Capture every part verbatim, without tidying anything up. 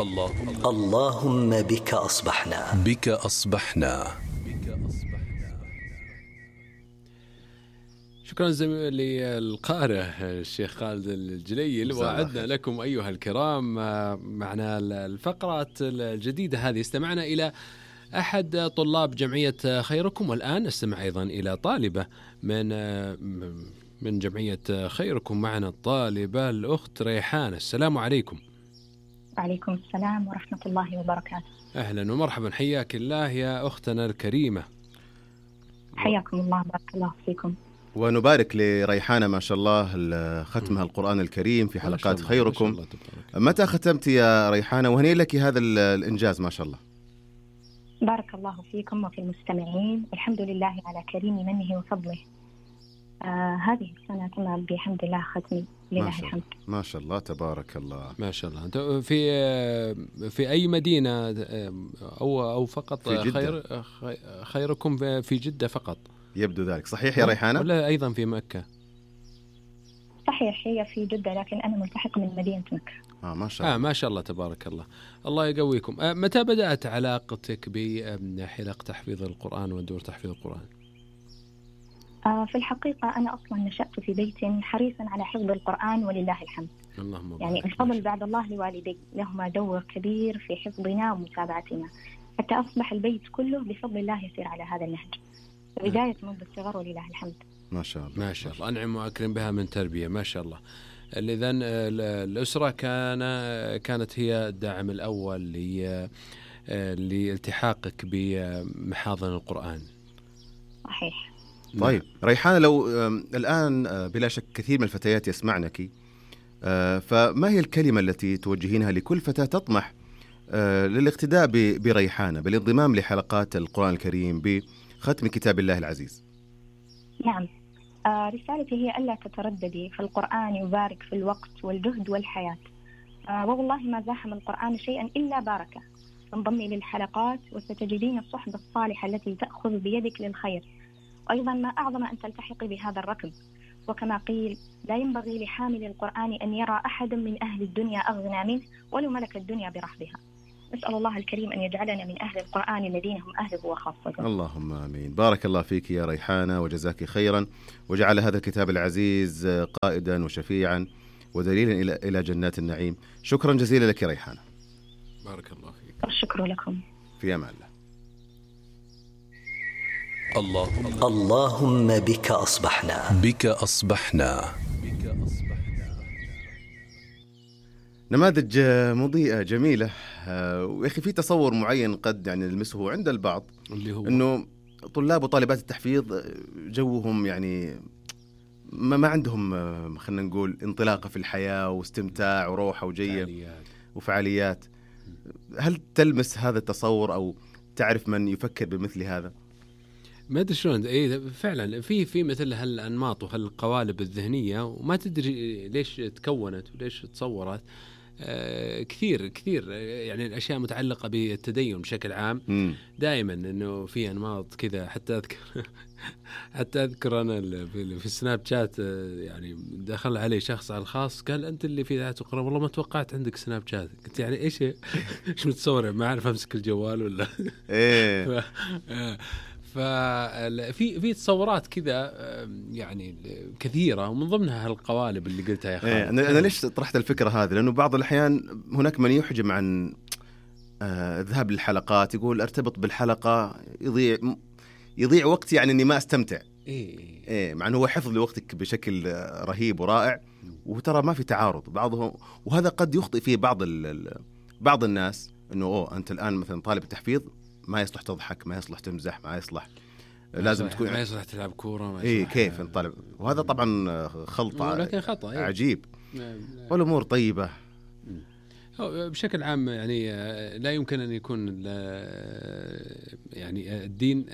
الله اللهم بك أصبحنا بك أصبحنا. شكرا زميلي القارئ الشيخ خالد الجليل. وعدنا لكم أيها الكرام معنا الفقرات الجديدة هذه. استمعنا إلى أحد طلاب جمعية خيركم، والآن استمع أيضا إلى طالبة من من جمعية خيركم. معنا الطالبة الأخت ريحانة. السلام عليكم. وعليكم السلام ورحمة الله وبركاته. أهلا ومرحبا، حياك الله يا أختنا الكريمة. حياكم الله، بارك الله فيكم. ونبارك لريحانة ما شاء الله ختمها القرآن الكريم في حلقات خيركم. متى ختمت يا ريحانة؟ وهنيئا لك هذا الإنجاز ما شاء الله. بارك الله فيكم وفي المستمعين. الحمد لله على كريم منه وفضله. آه هذه السنة تم بحمد الله ختمي، لله الحمد. ما شاء الله تبارك الله. ما شاء الله. أنت في في أي مدينة أو أو فقط في جدة؟ خير خيركم في جدة فقط؟ يبدو ذلك صحيح يا ريحانة؟ ولا أيضا في مكة؟ صحيح، هي في جدة لكن أنا ملتحق من مدينة مكة. آه ما شاء الله. آه ما شاء الله تبارك الله. الله يقويكم. آه متى بدأت علاقتك بحلق تحفيظ القرآن ودور تحفيظ القرآن؟ آه في الحقيقة أنا أصلا نشأت في بيت حريصا على حفظ القرآن ولله الحمد. اللهم يعني الفضل بعد الله لوالدي، لهما دور كبير في حفظنا ومتابعتنا حتى أصبح البيت كله بفضل الله يسير على هذا النهج. بداية منذ الصغر ولله الحمد. ما شاء الله ما شاء الله. أنعم وأكرم بها من تربية ما شاء الله. إذن الأسرة كان كانت هي الداعم الأول لالتحاقك بمحاضن القرآن. صحيح. طيب ريحانة، لو الآن بلا شك كثير من الفتيات يسمعنك، فما هي الكلمة التي توجهينها لكل فتاة تطمح للاقتداء بريحانة بالانضمام لحلقات القرآن الكريم بختم كتاب الله العزيز؟ نعم، آه رسالتي هي ألا تترددي في القرآن، يبارك في الوقت والجهد والحياة. آه والله ما زاحم القرآن شيئا إلا باركه. انضمي للحلقات وستجدين الصحبة الصالحة التي تأخذ بيدك للخير. وأيضا ما أعظم أن تلتحقي بهذا الركب. وكما قيل لا ينبغي لحامل القرآن أن يرى أحد من أهل الدنيا أغنى منه ولو ملك الدنيا برحبها. نسأل الله الكريم أن يجعلنا من أهل القرآن الذين هم أهله وخاصته. اللهم آمين. بارك الله فيك يا ريحانة وجزاك خيرا، وجعل هذا الكتاب العزيز قائدا وشفيعا ودليلا إلى إلى جنات النعيم. شكرا جزيلا لك يا ريحانة. بارك الله فيك. الشكر لكم. في أمان الله. الله اللهم بك أصبحنا بك أصبحنا. نماذج مضيئة جميلة، ويخي في تصور معين قد يعني نلمسه عند البعض، اللي هو إنه طلاب وطالبات التحفيظ جوهم يعني ما ما عندهم خلينا نقول انطلاقة في الحياة واستمتاع وروحة وجية فعاليات. وفعاليات. هل تلمس هذا التصور أو تعرف من يفكر بمثل هذا؟ ما ادري شلون. اي فعلا في في مثل هالانماط وهالقوالب الذهنيه، وما تدري ليش تكونت وليش تصورت. آه كثير كثير يعني الاشياء متعلقه بالتدين بشكل عام. م. دائما انه في انماط كذا. حتى اذكر حتى اذكر انا في السناب شات يعني دخل علي شخص على الخاص قال انت اللي في ذات القرآن، والله ما توقعت عندك سناب شات. قلت يعني ايش ايش متصور؟ ما اعرف امسك الجوال ولا ايه. ففي في تصورات كذا يعني كثيرة، ومن ضمنها هالقوالب اللي قلتها يا خالد. إيه أنا, أنا ليش طرحت الفكرة هذه؟ لأنه بعض الأحيان هناك من يحجم عن الذهاب للحلقات، يقول ارتبط بالحلقة يضيع يضيع وقت، يعني إني ما أستمتع. إيه إيه مع أنه هو حفظ لوقتك بشكل رهيب ورائع، وترى ما في تعارض بعضهم، وهذا قد يخطئ فيه بعض بعض الناس إنه أوه أنت الآن مثلا طالب التحفيظ ما يصلح تضحك، ما يصلح تمزح، ما يصلح ما لازم يصلح تكون ما يصلح تلعب كورة، ما إيه كيف طالب. وهذا طبعا خلطة لكن خطأ. إيه؟ عجيب. والأمور طيبة بشكل عام. يعني لا يمكن أن يكون يعني الدين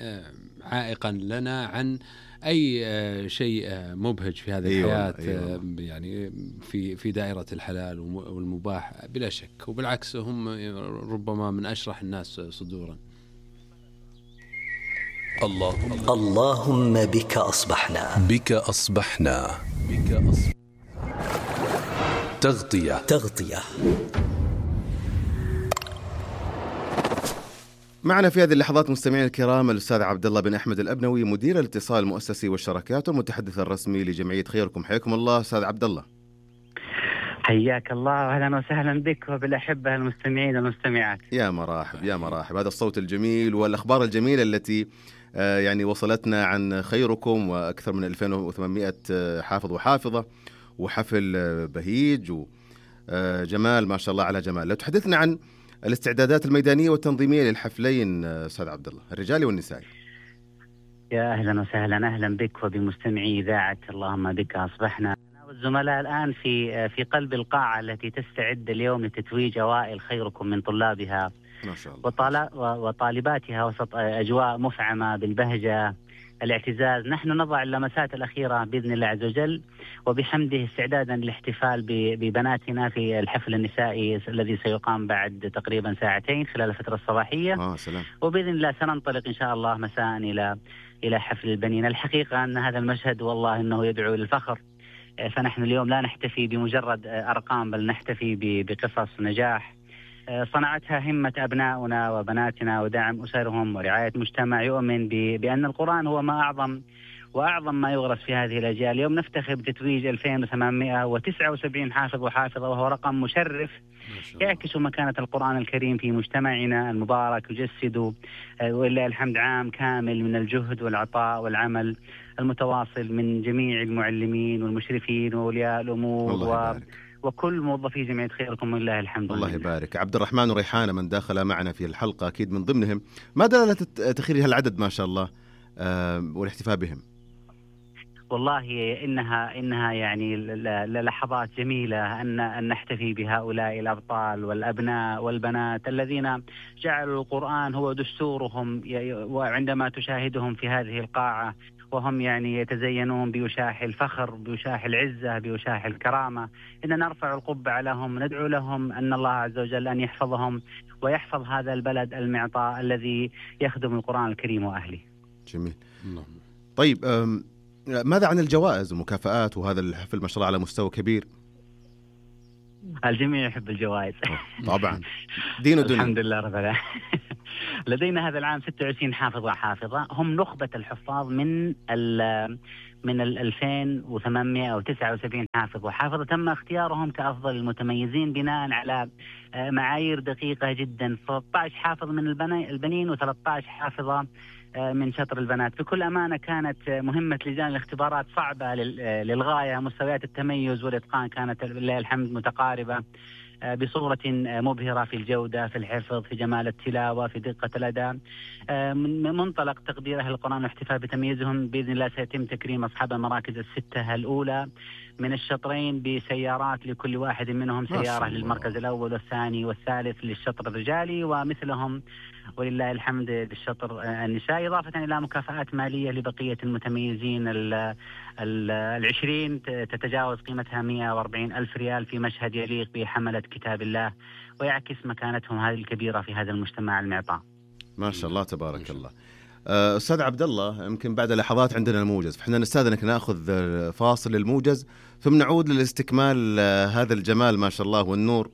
عائقا لنا عن أي شيء مبهج في هذه الحياة. أيوة. يعني في في دائرة الحلال والمباح بلا شك، وبالعكس هم ربما من أشرح الناس صدورا. الله اللهم بك أصبحنا بك أصبحنا بك أصبحنا. تغطية تغطية معنا في هذه اللحظات مستمعين الكرام الأستاذ عبد الله بن أحمد الأبنوي، مدير الاتصال المؤسسي والشراكات والمتحدث الرسمي لجمعية خيركم. حياكم الله أستاذ عبد الله. حياك الله وأهلا وسهلا بك وبالأحبة المستمعين والمستمعات. يا مرحب يا مرحب، هذا الصوت الجميل والأخبار الجميلة التي يعني وصلتنا عن خيركم، وأكثر من ألفين وثمانمائة حافظ وحافظة، وحفل بهيج وجمال ما شاء الله على جمال. لو تحدثنا عن الاستعدادات الميدانية والتنظيمية للحفلين أستاذ عبد الله، الرجالي والنسائي. يا أهلا وسهلا، أهلا بك وبمستمعي إذاعة اللهم بك أصبحنا. والزملاء الآن في في قلب القاعة التي تستعد اليوم لتتويج أوائل خيركم من طلابها ما شاء الله وطالباتها وسط أجواء مفعمة بالبهجة الاعتزاز. نحن نضع اللمسات الأخيرة بإذن الله عز وجل وبحمده استعدادا للاحتفال ببناتنا في الحفل النسائي الذي سيقام بعد تقريبا ساعتين خلال الفترة الصباحية. آه سلام. وبإذن الله سننطلق إن شاء الله مساء إلى إلى حفل البنين. الحقيقة أن هذا المشهد والله إنه يدعو للفخر، فنحن اليوم لا نحتفي بمجرد أرقام بل نحتفي بقصص نجاح صنعتها همة أبنائنا وبناتنا ودعم أسرهم ورعاية مجتمع يؤمن بأن القرآن هو ما أعظم وأعظم ما يغرس في هذه الأجيال. اليوم نفتخر بتتويج ألفين وثمانمائة وتسعة وسبعين حافظ وحافظة، وهو رقم مشرف يعكس مكانة القرآن الكريم في مجتمعنا المبارك، يجسد ولله الحمد عام كامل من الجهد والعطاء والعمل المتواصل من جميع المعلمين والمشرفين وأولياء الأمور و... وكل موظفي جمعية خيركم ولله الحمد. الله يبارك. عبد الرحمن وريحانة من داخل معنا في الحلقة أكيد من ضمنهم، ما دلالة تخير هالعدد ما شاء الله آه والاحتفاء بهم؟ والله إنها إنها يعني لحظات جميلة أن أن نحتفي بهؤلاء الأبطال والأبناء والبنات الذين جعلوا القرآن هو دستورهم، وعندما تشاهدهم في هذه القاعة وهم يعني يتزينون بوشاح الفخر بوشاح العزة بوشاح الكرامة، إن نرفع القبعة لهم، ندعو لهم أن الله عز وجل أن يحفظهم ويحفظ هذا البلد المعطاء الذي يخدم القرآن الكريم وأهله. جميل. طيب ماذا عن الجوائز والمكافآت؟ وهذا الحفل ما شاء الله على مستوى كبير. الجميع يحب الجوائز طبعا دين ودنيا. الحمد لله رب العالمين. لدينا هذا العام ستة وعشرين حافظ وحافظة، هم نخبة الحفاظ من ال من ال ألفين وثمانمائة وتسعة وسبعين حافظ وحافظة تم اختيارهم كأفضل المتميزين بناء على معايير دقيقة جدا. ثلاثة عشر حافظ من البنين وثلاثة عشر حافظة من شطر البنات. بكل أمانة كانت مهمة لجان الاختبارات صعبة للغاية، مستويات التميز والإتقان كانت لله الحمد متقاربة بصورة مبهرة في الجودة، في الحفظ، في جمال التلاوة، في دقة الأداء. من منطلق تقدير أهل القرآن واحتفاء بتمييزهم بإذن الله سيتم تكريم أصحاب المراكز الستة الأولى من الشطرين بسيارات لكل واحد منهم سيارة للمركز الأول والثاني والثالث للشطر الرجالي، ومثلهم ولله الحمد للشطر النسائي، إضافة إلى مكافآت مالية لبقية المتميزين العشرين تتجاوز قيمتها مئة وأربعين ألف ريال في مشهد يليق بحملة كتاب الله ويعكس مكانتهم هذه الكبيرة في هذا المجتمع المعطاء. ما شاء الله تبارك الله. أستاذ عبد الله، يمكن بعد لحظات عندنا الموجز، فإحنا نستأذنك نأخذ فاصل للموجز ثم نعود لاستكمال هذا الجمال ما شاء الله والنور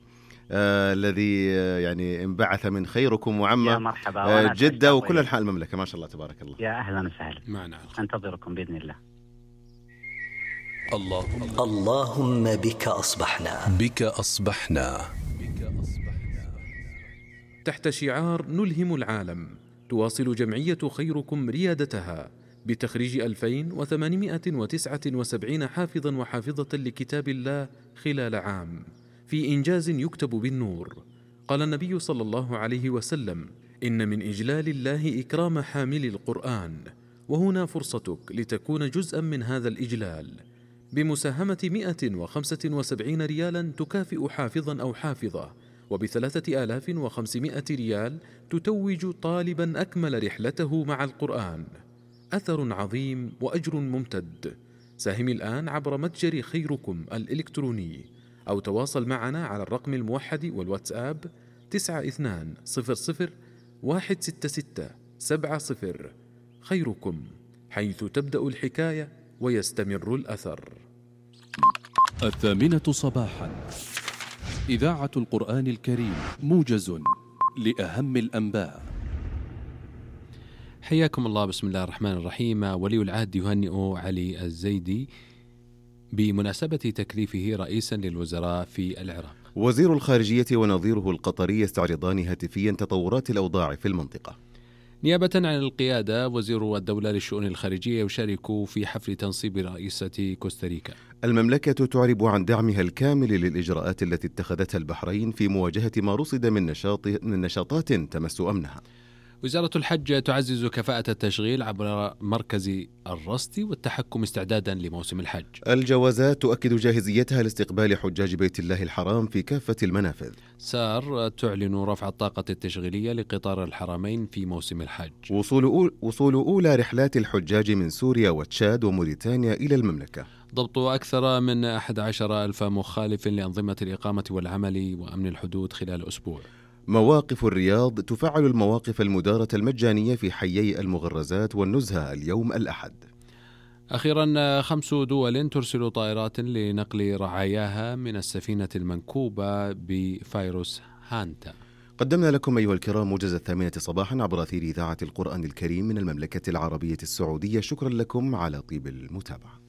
آه الذي آه يعني انبعث من خيركم وعم آه جدة وكل أنحاء المملكة ما شاء الله تبارك الله. يا أهلا وسهلا معنا، أنتظركم بإذن الله. الله اللهم بك أصبحنا بك أصبحنا تحت شعار نلهم العالم، تواصل جمعية خيركم ريادتها بتخريج ألفين وثمانمائة وتسعة وسبعين حافظا وحافظة لكتاب الله خلال عام في إنجاز يكتب بالنور. قال النبي صلى الله عليه وسلم: إن من إجلال الله إكرام حامل القرآن، وهنا فرصتك لتكون جزءا من هذا الإجلال بمساهمة مئة وخمسة وسبعين ريالا تكافئ حافظا أو حافظة، وبثلاثة آلاف وخمسمائة ريال تتوج طالبا أكمل رحلته مع القرآن. أثر عظيم وأجر ممتد. ساهم الآن عبر متجر خيركم الإلكتروني أو تواصل معنا على الرقم الموحد والواتساب تسعة اثنان صفر صفر واحد ستة ستة سبعة صفر. خيركم، حيث تبدأ الحكاية ويستمر الأثر. الثامنة صباحا، إذاعة القرآن الكريم، موجز لأهم الأنباء. حياكم الله. بسم الله الرحمن الرحيم. ولي العهد يهنئ علي الزيدي بمناسبة تكليفه رئيسا للوزراء في العراق. وزير الخارجية ونظيره القطري يستعرضان هاتفيا تطورات الأوضاع في المنطقة. نيابة عن القيادة، وزير الدولة للشؤون الخارجية يشارك في حفل تنصيب رئيسة كوستاريكا. المملكة تعرب عن دعمها الكامل للإجراءات التي اتخذتها البحرين في مواجهة ما رصد من نشاط من نشاطات تمس أمنها. وزارة الحج تعزز كفاءة التشغيل عبر مركز الرصد والتحكم استعدادا لموسم الحج. الجوازات تؤكد جاهزيتها لاستقبال حجاج بيت الله الحرام في كافة المنافذ. سار تعلن رفع الطاقة التشغيلية لقطار الحرمين في موسم الحج. وصول, أول وصول أولى رحلات الحجاج من سوريا وتشاد وموريتانيا إلى المملكة. ضبط أكثر من أحد عشر ألف مخالف لأنظمة الإقامة والعمل وأمن الحدود خلال أسبوع. مواقف الرياض تفعل المواقف المدارة المجانية في حيي المغرزات والنزهة اليوم الأحد. أخيرا، خمس دول ترسل طائرات لنقل رعاياها من السفينة المنكوبة بفيروس هانتا. قدمنا لكم أيها الكرام موجز الثامنة صباحا عبر أثير إذاعة القرآن الكريم من المملكة العربية السعودية. شكرا لكم على طيب المتابعة.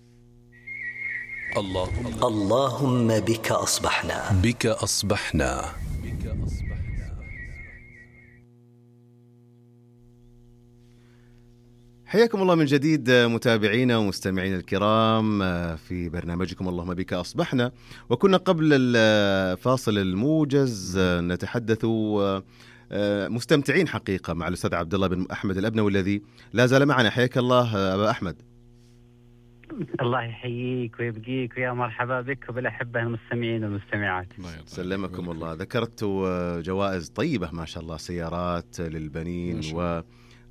اللهم اللهم بك أصبحنا بك أصبحنا بك أصبحنا. حياكم الله من جديد متابعينا ومستمعينا الكرام في برنامجكم اللهم بك أصبحنا. وكنا قبل الفاصل الموجز نتحدث مستمتعين حقيقة مع الأستاذ عبد الله بن أحمد الأبنوي الذي لا زال معنا. حياك الله أبا أحمد. الله يحييك ويبقيك ويا مرحبا بك وبالأحبة المستمعين والمستمعات. سلمكم الله. ذكرت جوائز طيبة ما شاء الله، سيارات للبنين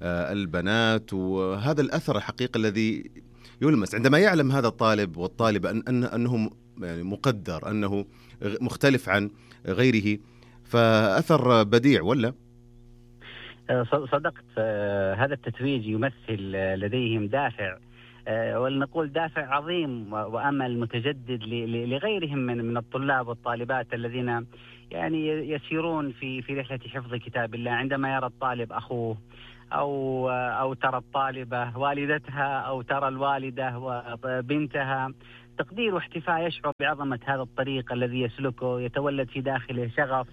والبنات، وهذا الأثر الحقيقي الذي يلمس عندما يعلم هذا الطالب والطالبة أن أن أنه يعني مقدر، أنه مختلف عن غيره، فأثر بديع ولا؟ صدقت. هذا التتويج يمثل لديهم دافع، ولنقول دافع عظيم وأمل متجدد لغيرهم من من الطلاب والطالبات الذين يعني يسيرون في في رحلة حفظ كتاب الله. عندما يرى الطالب أخوه أو أو ترى الطالبة والدتها أو ترى الوالدة وبنتها، تقدير واحتفاء، يشعر بعظمة هذا الطريق الذي يسلكه، يتولد في داخله شغف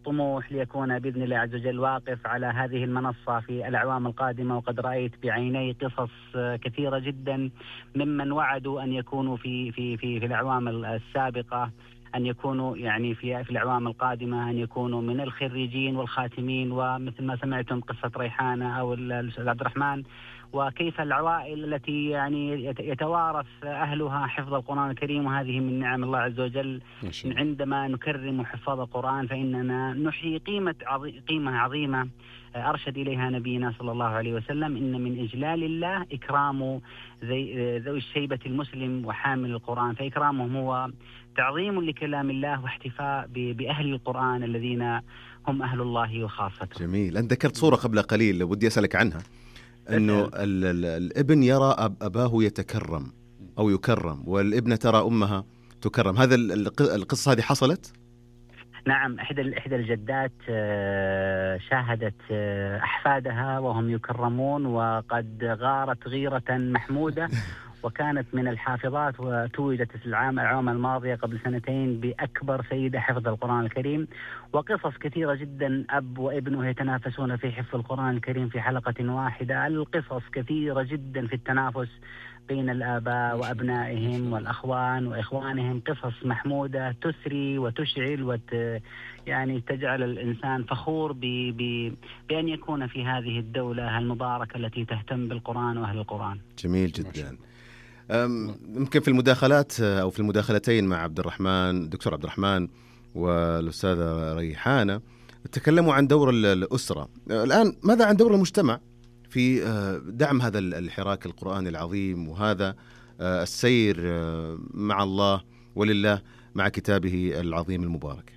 طموح ليكون بإذن الله عز وجل واقف على هذه المنصة في الأعوام القادمة. وقد رأيت بعيني قصص كثيرة جدا ممن وعدوا أن يكونوا في في في في الأعوام السابقة، أن يكونوا يعني في في الأعوام القادمة أن يكونوا من الخريجين والخاتمين، ومثل ما سمعتم قصة ريحانة أو الأستاذ عبد الرحمن، وكيف العوائل التي يعني يتوارث أهلها حفظ القرآن الكريم. وهذه من نعم الله عز وجل. عندما نكرم حفاظ القرآن فإننا نحيي قيمة عظي قيمة عظيمة أرشد إليها نبينا صلى الله عليه وسلم. إن من إجلال الله إكرام ذوي الشيبة المسلم وحامل القرآن، فإكرامهم هو تعظيم لكلام الله واحتفاء بأهل القرآن الذين هم أهل الله وخاصته. جميل. أنت ذكرت صورة قبل قليل ودي أسألك عنها، أنه الابن يرى أباه يتكرم أو يكرم، والابنة ترى أمها تكرم. هذا القصة هذه حصلت؟ نعم. إحدى إحدى الجدات شاهدت أحفادها وهم يكرمون وقد غارت غيرة محمودة، وكانت من الحافظات، وتوجت في العام العام الماضية قبل سنتين بأكبر سيدة حفظ القرآن الكريم. وقصص كثيرة جدا، أب وابنه يتنافسون في حفظ القرآن الكريم في حلقة واحدة. القصص كثيرة جدا في التنافس بين الآباء وأبنائهم والأخوان وإخوانهم، قصص محمودة تسري وتشعل وت يعني تجعل الإنسان فخور ب... ب... بأن يكون في هذه الدولة المباركة التي تهتم بالقرآن وأهل القرآن. جميل جدا. يمكن في المداخلات أو في المداخلتين مع عبد الرحمن الدكتور عبد الرحمن والأستاذة ريحانة تكلموا عن دور الأسرة. الآن ماذا عن دور المجتمع في دعم هذا الحراك القرآني العظيم وهذا السير مع الله ولله مع كتابه العظيم المبارك؟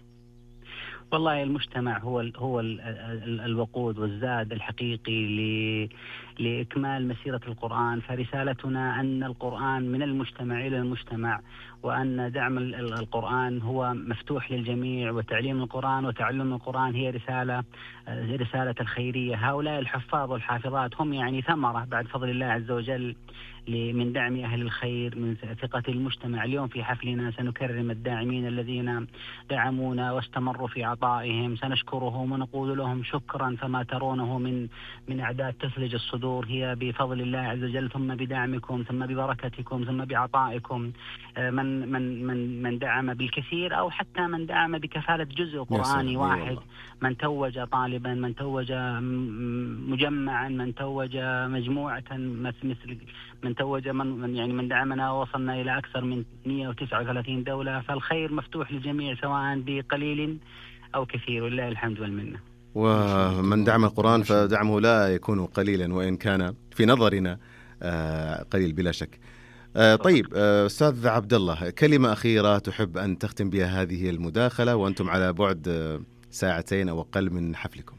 والله المجتمع هو ال هو ال ال الوقود والزاد الحقيقي لإكمال مسيرة القرآن. فرسالتنا أن القرآن من المجتمع إلى المجتمع، وأن دعم القرآن هو مفتوح للجميع، وتعليم القرآن وتعلم القرآن هي رسالة رسالة الخيرية. هؤلاء الحفاظ والحافظات هم يعني ثمرة بعد فضل الله عز وجل من دعم أهل الخير، من ثقة المجتمع. اليوم في حفلنا سنكرم الداعمين الذين دعمونا واستمروا في عطائهم، سنشكرهم ونقول لهم شكرا. فما ترونه من من أعداد تثلج الصدور هي بفضل الله عز وجل، ثم بدعمكم، ثم ببركتكم، ثم بعطائكم. من من من من دعم بالكثير أو حتى من دعم بكفالة جزء قرآني واحد، من توج طالبا، من توج مجمعا، من توج مجموعة، مثل من توج من يعني من دعمنا ووصلنا إلى أكثر من مئة وتسعة وثلاثين دولة. فالخير مفتوح للجميع سواء بقليل أو كثير، ولله الحمد والمنة. ومن دعم القرآن فدعمه لا يكون قليلا وإن كان في نظرنا قليل بلا شك. طيب أستاذ عبد الله، كلمة أخيرة تحب أن تختم بها هذه المداخلة وأنتم على بعد ساعتين أو أقل من حفلكم؟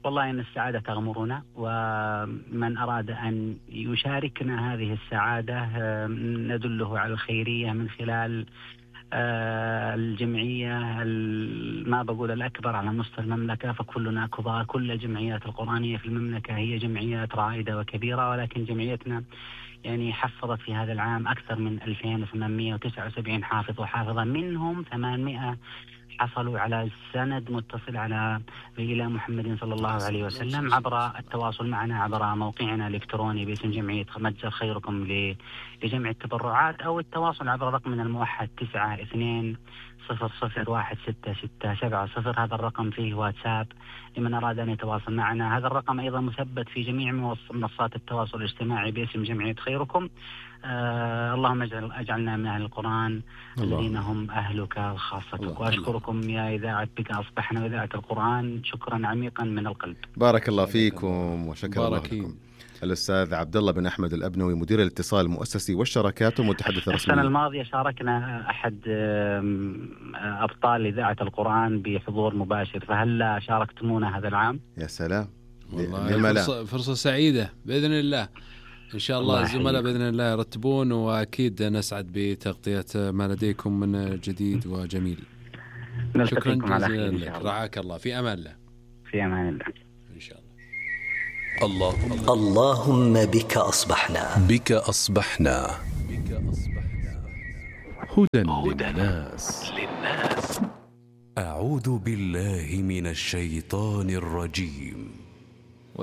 والله إن السعادة تغمرنا، ومن أراد أن يشاركنا هذه السعادة ندله على الخيرية من خلال الجمعية، ما بقول الأكبر على مستوى المملكة، فكلنا كبار. كل الجمعيات القرآنية في المملكة هي جمعيات رائدة وكبيرة، ولكن جمعيتنا يعني حفظت في هذا العام أكثر من ألفين وثمانمئة وتسعة وسبعين حافظ وحافظة، منهم ثمانمئة حصلوا على سند متصل على إلى محمد صلى الله عليه وسلم عبر التواصل معنا عبر موقعنا الإلكتروني باسم جمعية متجر خيركم لجمع التبرعات، أو التواصل عبر رقمنا الموحد تسعة اثنين صفر صفر واحد ستة ستة سبعة صفر. هذا الرقم فيه واتساب لمن أراد أن يتواصل معنا. هذا الرقم أيضا مثبت في جميع منصات التواصل الاجتماعي باسم جمعية خيركم. آه اللهم اجعل أجعلنا من أهل القرآن الذين هم أهلك وخاصتك. وأشكركم يا إذاعة بك أصبحنا وإذاعة القرآن شكرا عميقا من القلب. بارك الله فيكم وشكرا الله لكم. الأستاذ عبد الله بن أحمد الأبنوي، مدير الاتصال المؤسسي والشراكات ومتحدث رسمي. السنة الماضية شاركنا أحد أبطال إذاعة القرآن بحضور مباشر، فهل شاركتمونا هذا العام؟ يا سلام، والله فرصة, فرصة سعيدة بإذن الله. إن شاء الله الزملاء بإذن الله يرتبون، وأكيد نسعد بتغطية ما لديكم من جديد وجميل. شكرا جزيلا لك، رعاك الله، في أمان الله. في أمان الله إن شاء الله. اللهم اللهم بك أصبحنا بك أصبحنا هدى للناس. أعوذ بالله من الشيطان الرجيم.